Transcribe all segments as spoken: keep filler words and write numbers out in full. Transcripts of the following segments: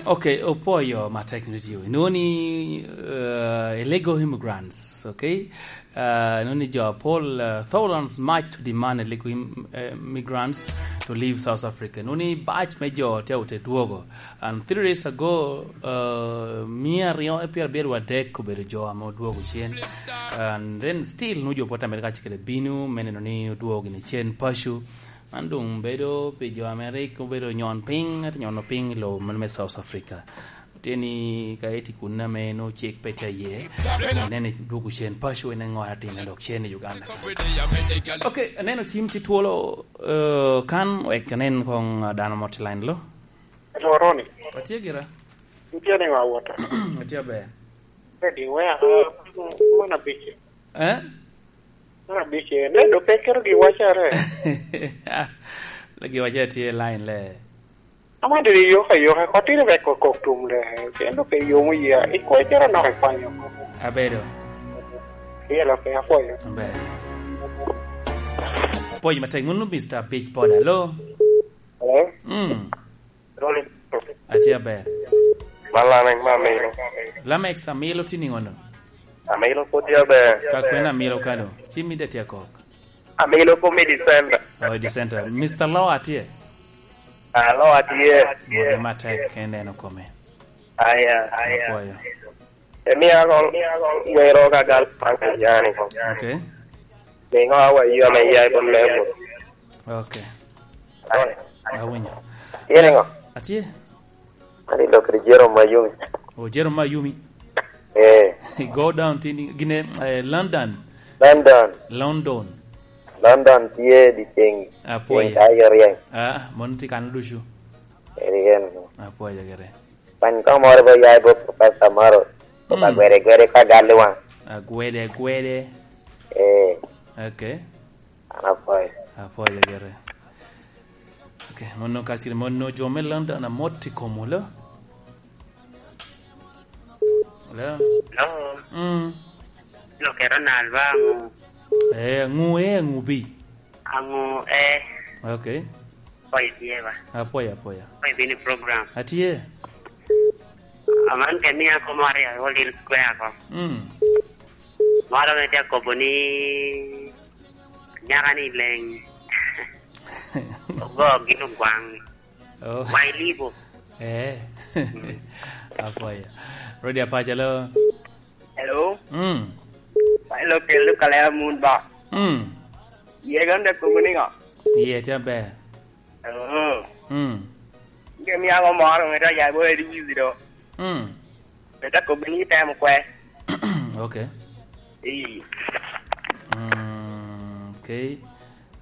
Okay, opoyo matek ni tio. Inoni, uh, illegal immigrants, okay? Uh, inoni jo apol, uh, thousands march to demand illegal im-, uh, immigrants to leave South Africa. Inoni batch me jo te ote dwogo. And three days ago, uh, mia aryo e pyerabiro wadek obedo jo ame odwogo cen. And then still nu jo pwod Amerika acikere bino, me neno ni odwogo gini cen paco. Man doŋ bedo pi jo ame rik obedo nyon piny, ento nyono piny i lobo meno me South Africa. Tye ni ka iti kun ame nongo cik pe tye aye, ineno dwogo cen paco, ineno ŋo atin dok cen i Uganda. Ok, aneno cim tye twolo, eh, kan wek anen koŋ dano mo tye line lo. Atye gira. Itye niŋo awota? Atye aber. Ready, wea, ah, mon abic. Eh? Mon abic, eh, ne do pe keto gi wacare. Ah, le gi wacare tye line le. Ama diri yok ayoka, kotino wek okok tum le. Kendo pe yomo yia. Ikwe cero nok ikwanyo. Abedo. Yelo pe apwoyo. Aber. Apwoyo matek, munu Mister Big Pod, hello? Hello? Mm. Atye aber. Man Lamek me Amilo. Lamek Amilo tye niŋo no? Amilo pwod tye aber. Ka kwena Amilo kano? Ci mide tye akok. Amilo pwod me December. Oh, December. Mister Law atye? Ah, Law atye. Mwote matek, en neno kome. Aya, aya. Apwoyo. Emia koŋ wero ka gal paŋ yani koŋ. Okay. Niŋo awa yom eya i bot mego? Okay. Awinyo. Tye niŋo? Atye. Ani lok kede Jerome Ayumi. Oh, Jerome Ayumi. Eh. Go down tini gine, eh, London. London. London. London tye di ceng. Apoya. Ceng ka yo ryeny. Ah, mon tye kan ducu. Eri en. Apoya gire. Pany ka moro ba ya i bot Professor Maro. Ba gwede gwede ka gal i waŋ. Agwede gwede. Eh. Okay. An apwoyo. Apwoyo gire. Okay, mono ka cire mono jo me London amot i kom wolo. Hello? Hello? Mm. Lo kero nal ba ŋu? Eh, ŋu eh, ŋu bi? Aŋu eh? Okay. Apwoyo tye ba? Apwoyo, apwoyo. Apwoyo bini program. Atye. Aman ke ni ako mari a wol il kwe ako. Mm. Maro me tye akobo ni nyaka ni leng. Ogo gin ogwaŋ. Oh. Wai libo. Eh. Apwoyo. Rodi apaca lo. Hello? Mm. Wai lo kelo kalera mun ba. Mm. Ye gande kogo ni ŋo? Ye tye aber. Oh. Mm. Ge mi ago moro ŋeta ya bo edi wizi do. Mm. Ŋeta kogo ni temo kwe. Okay. Ii. Mm, okay.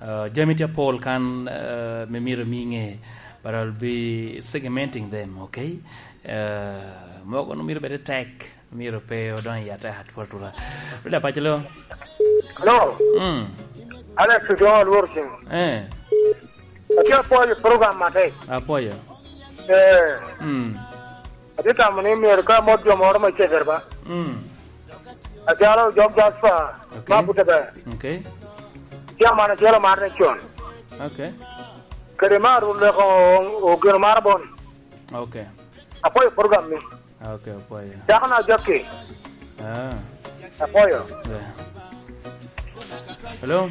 Uh, jami tye apol kan, uh, me myero mi ŋe, but I'll be segmenting them, okay? Uh, mogo no myero bed tek, myero pe odonyo i ata atwal tula. Rudi apaco lo. Hello. Mm. Alex Odoŋo Alwor Cing. Eh. Atye apwoyo program matek. Apwoyo. Eh. Mm. Atye tamo ni myero ka mot jo moro me cegere ba. Mm. Acalo Jok Jasper, okay, ma bute ber. Okay. Tye amana acel omar ne con. Okay. Kede mar leko ogeno mar bon. Okay. Apwoyo program ni. Okay, apwoyo. Dako na Jackie. Ah. Apwoyo. Yeah. Hello?